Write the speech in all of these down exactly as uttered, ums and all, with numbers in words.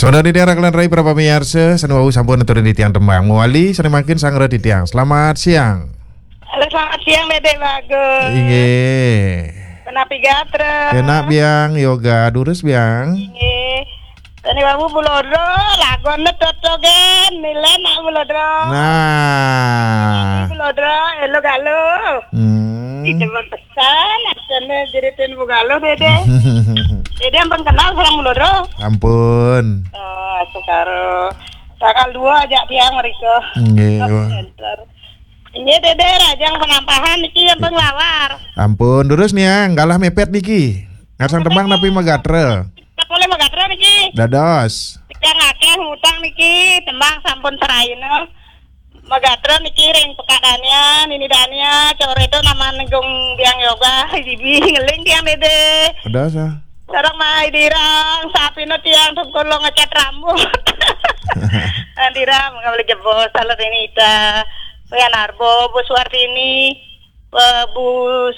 Saudara titiang, rakan rai, para pamiarsa, sané wau sampun aturang titiang tembang. Mawali sané mangkin sareng titiang. Selamat siang. Halo, selamat siang, Dédé Bagus. Inggih. Kenapi gatra? Kenak, Biang Yoga. Durus, Biang. Inggih. Sané wau Bu Lodro, laguna totogen, milen nak Bu Lodro. Nah. Bu Lodro, élo galo. Hmm. Ih, demen pesan, asané jeritin Bu Galo, Dédé. Dédé ampun kenal sareng Bu Lodro? Ampun. Oh, sekarang tanggal dua aja tiang mriko. Nggih, Top wah. Center. Inggih, Dédé, rahajeng penampahan niki ampun nglawar. Ampun, durus niang, galah mepet niki. Ngarsang tembang napi magatra? Polih magatra niki. Dados. Tiang akéh ngutang niki, tembang sampun seraina. Magatra niki ring Pekak Dania, Nini Dania, coréto nama nenggung Biang Yoga, jibi ngeling tiang, Dédé. Dados, ah. Sareng Mah Indirang, sapina tiang sungkur lo ngecat rambut. Indirang, nggak boleh jebos, salah ini Ita. Wayan Arbo, Bu Suartini, eh, Bu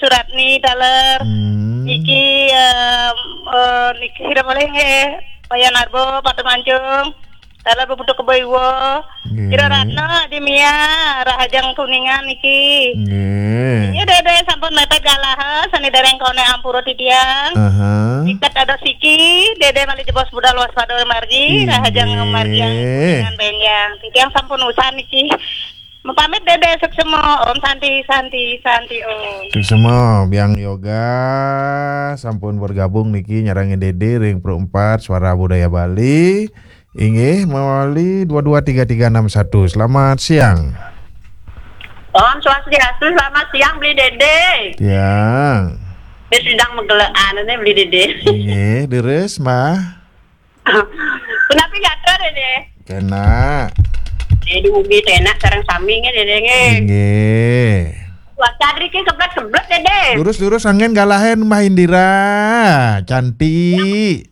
Suratni, taler. Hmm. Niki, eh, eh, niki sira malih nggih. Wayan Arbo, Patu Mancung. Taler Bu Putu Kebo Iwa. Nggih. Ira Ratna, Adi Mia, rahajeng Kuningan niki. Nggih. Iya, Dédé sampun mepet galah, sané dereng koné ampura titiang. Aha. Iket ada siki, Dédé malih jebos budal waspada margi, inggih, rahajeng margi Kuningan Benjang. Titiang sampun usan niki. Mapamit, Dédé, suksema. Om Santi, Santi, Santi, Om. Suksema, Biang Yoga sampun bergabung niki nyarengin Dédé ring Pro empat Suara Budaya Bali. Inggih, mawali dua dua tiga tiga enam satu. Selamat siang. Om Swastiastu, selamat siang, Beli Dédé. Siang. Dia sedang megelekan ini, Beli Dédé. Inggih, deres, Mbah. Punapi gatra, Dédé? Kenak. Dédé mugi enak sareng sami nggih, Dédé nggih. Inggih. Wah, cadri ki keblet-keblet, Dédé. Lurus-lurus angin galahin Mbah Indira. Cantik.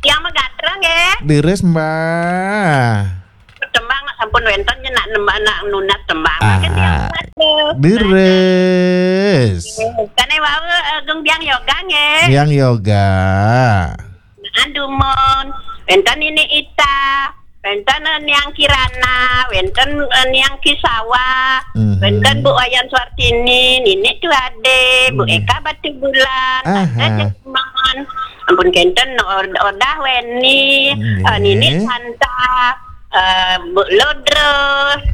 Yang megatra nggih. Deres, Mbah. Tembang nak sampun wénten nyen nak nembang nak nunas tembang. Ah, makin tiang kuat tuh. Deres. Kane wau, eh, Gung Biang Yoga nggih. Biang Yoga. Andumon, wénten Nini Ita, wénten, eh, Niang Kirana, wénten, eh, Niang Kisawa, mhm, wénten Bu Wayan Suartini, Nini Tuade, Bu, mhm, Eka Batu Bulan, aha, Tante Jemon, ampun kénten, Or-, Odah Weni, nggih, eh, Nini Santa, eh, Bu Lodro,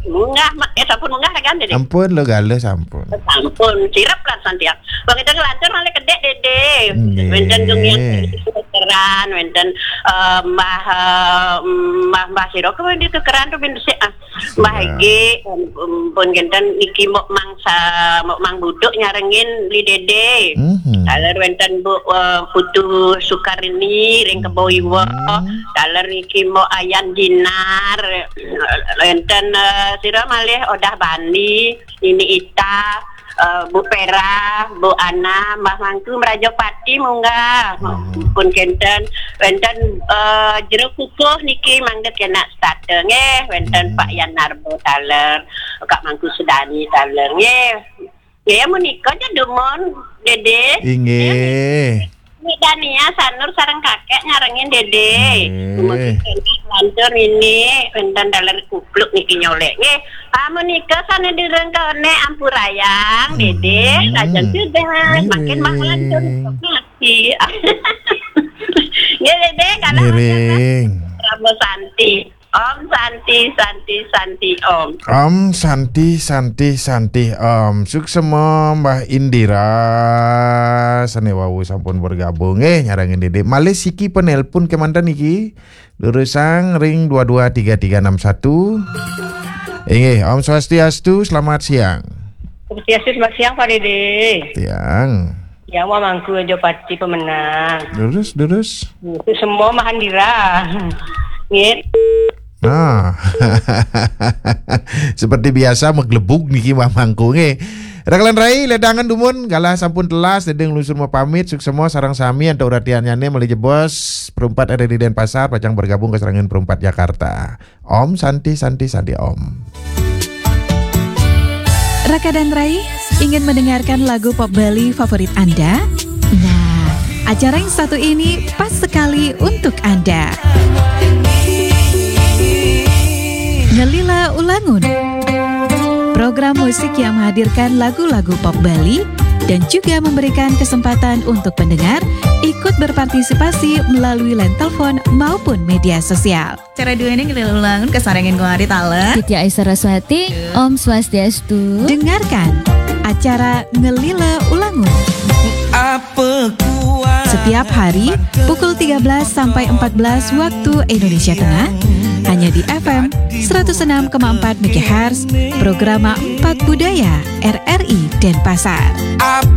munggah, ma-, eh, sampun munggah kan, Dédé? Ampun, lo galuh sampun. Sampun, sirep lan santiang. Wong itu ngelantur malih kedék, Dédé. Nggih. Wénten Gung Yang keran, wénten, eh, Mbah, eh, Mbah, Mbah sira kuwi di kekeran tuh bin sik, ah. Mbah, iya, Egi, em, em, pun kénten niki Mok Mangsa, Mok Mang Buduk nyarengin Beli Dédé. Mhm. Taler wénten Bu, eh, Putu Sukarini ring Kebo Iwa. Mhm. Taler niki Mok Ayan Dinar. Wénten, eh, sira malih Odah Bani. Nini Ita, eh, Bu Pera, Bu Ana, Mbah Mangku Mrajapati munggah. Hmm. Pun kénten, wénten, eh, Jero Kukuh niki mangda kenak setata nggih, wénten, hmm, Pak Yan Narbo taler, Kak Mangku Sudani taler nggih. Nggih, menika aja dumun, Dédé. Inggih. Nik Dania Sanur sareng kakek nyarengin Dédé. Nggih. Kemudian lantur ini wénten taler kupluk niki nyolek nggih. Ah, menika sané direngkone ampurayang, Dédé. Hmm. Lajeng sudah, makin ngiring, manglantur mati. Nggih, Dédé, kalau ngiring. Ramo Santi. Om Santi, Santi, Santi, Om. Om Santi, Santi, Santi, Om. Suksema Mbah Indira sané wau sampun bergabung. Eh, nyarengin Dédé. Malih siki penelpon kemanten iki. Durusang ring dua dua tiga tiga enam satu. Inggih, Om Swastiastu, selamat siang. Swastiastu, selamat siang, Pak Dédé. Siang. Ya, Wah Mangku Aja Pati pemenang. Durus, durus. Itu semua Mahandira. Nggih. Nah. Seperti biasa meglebug niki Wah Mangku nggih. Rakelan rai, ledangan dumun, galah sampun telas, Dédé nglungsur mapamit, suksema sareng sami antuk ratiannyane malih jebos, perumpat ada di Denpasar, pacang bergabung ke serangan perumpat Jakarta. Om Santi, Santi, Santi, Om. Raka dan Rai, ingin mendengarkan lagu pop Bali favorit Anda? Nah, acara yang satu ini pas sekali untuk Anda. Ngelila Ulangun. Program musik yang menghadirkan lagu-lagu pop Bali dan juga memberikan kesempatan untuk pendengar ikut berpartisipasi melalui line telepon maupun media sosial. Acara duene Ngelila Ulangun kasarengin ku Ari Tala. Titi Aisyah Raswati, Om Swastiastu. Dengarkan acara Ngelila Ulangun Apa kuat setiap hari pukul tiga belas sampai empat belas waktu Indonesia Tengah, hanya di F M seratus enam koma empat megahertz, Programa empat Budaya, R R I Denpasar. Apa